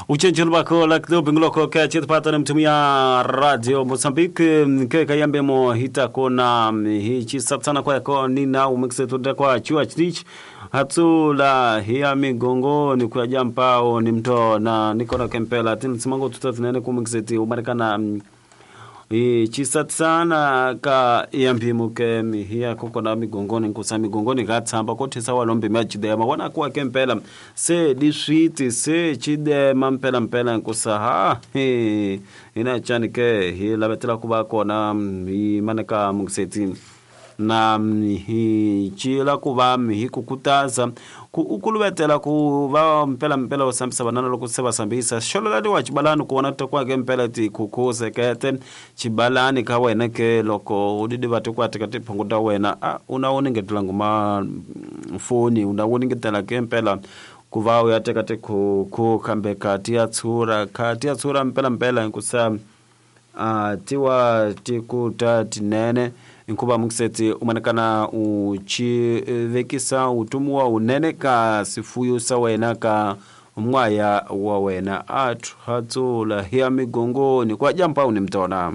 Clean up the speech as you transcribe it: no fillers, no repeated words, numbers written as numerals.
Uchenjelo bako la club ngiloko ke chitipata na mtumia Radio Mozambique ke kayambe mo hita kona hichi satana kwa ko nina umeksetu kwa chua chich hatsula hiya migongoni kwa jampao ni mto na nikona kempela tin simango tutatinene kumeksetu umarekana chisatsana ka yamphimo ke mihiya kokona migongoni nkusa migongoni ka tshamba ko thisa walombe machidema wana kuwa ke mpela se di switi se chidema mpela mpela nkusa ha he ina chani ke hi lavetela ku va kona hi maneka mukiseti na hi cila ku va hi ku kutaza ku ukuluvetela ku va mpela mpela u sambisa vanana loko se va sambisa xololaniwa xibalani ku vona tekwake mpela tikhukhusekete xibalani ka wena ke loko u didiva tikwati ka tiphungu ta wena a u na wuningetela nguma foni u na wuningetela ke mpela ku va u ya teka tikhukhu kambe kati ya tshura khati ya tshura mpela mpela hikusa tiwa tikuta tinene nkuva mukiseti umanekana uchi vekisa utumiwa unene ka sifuyo sa wena ka mwaya wa wena athu hatsula hiya migongoni kwa jampa uni mtona.